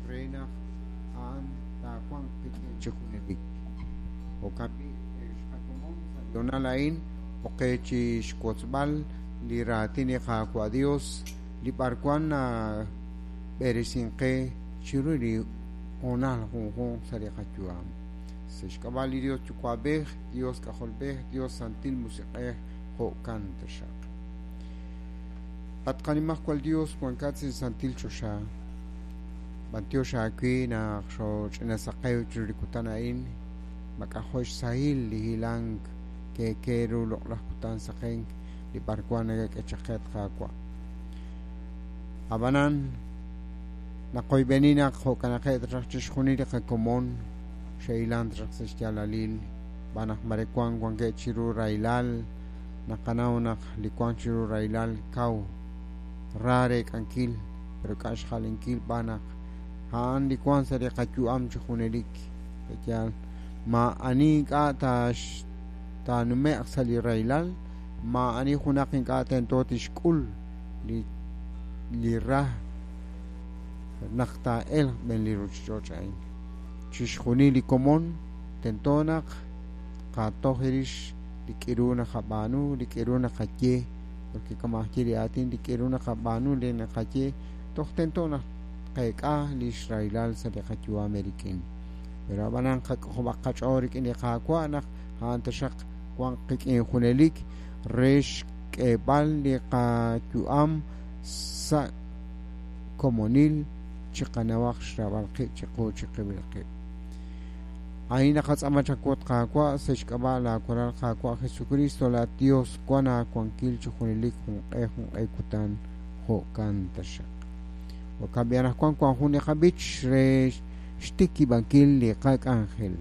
re naq a'an taawanq qik'in chi junelik. Jo'kan b'i', ex qakomon sa' li hoonal a'in, ok qe chi xwotzb'al li raatin li Qaawa' Dios li b'arwan nab'eresink qe chiru li hoonal junjunq sa' li qayu'am. Sa' xk'ab'a' li Dios Yuwa'b'ej, Dios K'ajolb'ej, Dios Santil Musiq'ej, jo'kan taxaq. At qanimajwal Dios wankat sa' li santil choxa, b'antiox aawe naq xooch'ina saqew chiru li kutan a'in, mak'ajo' xsahil li hilank keeke ru loq'laj kutan saqenk li b'arwan nakak'e chaq qe, at Qaawa'. Ab'anan, naqoyb'eni naq jo'kanaqeb' raj chixjunil li qakomon xe'hilank raj sa' xyaalalil, xb'aan naq mare wank wankeb' chiru rahilal, naqanaw naq li wank chiru rahilal kaw ra reek'ankil, pero k'a' xja'lenkil b'aan naq a'an li wank sa' li qayu'am chi junelik. Pe'yaal maa'ani ink'a' taanume'q sa' li rahilal, maa'ani junaq ink'a' tento tixk'ul li li ra naq taa'elq b'en li ruuchich'och' a'in. Chixjunil li komon tento naq tqatoj rix li k'iru naqab'aanu, li k'iru naqaye, porque kama' aj ye li aatin, li k'iru naqab'aanu, li naqaye, toj tento naq tqeek'a li xrahilal sa' li qayu'am eerik'in. Pero ab'anan qak'ojob'aq qach'ool rik'in li Qaawa' naq a'an taxaq wanq qik'in junelik re xk'eeb'al li qayu'am sa' komonil chiqanawaq xraab'al qib' chiqu chiqib'il qib'. A'in naqatz'aama chawu, at Qaawa', sa' xk'ab'a' laaWalal Qaawa' Jesukriist, laa'at Yos wank aawankil chi junelik junq'e junq'e kutan. Jo'kan taxaq. Jo'kan b'i' anaqwan wank jun li qab'ich re xtikib'ankil li qak'anjel.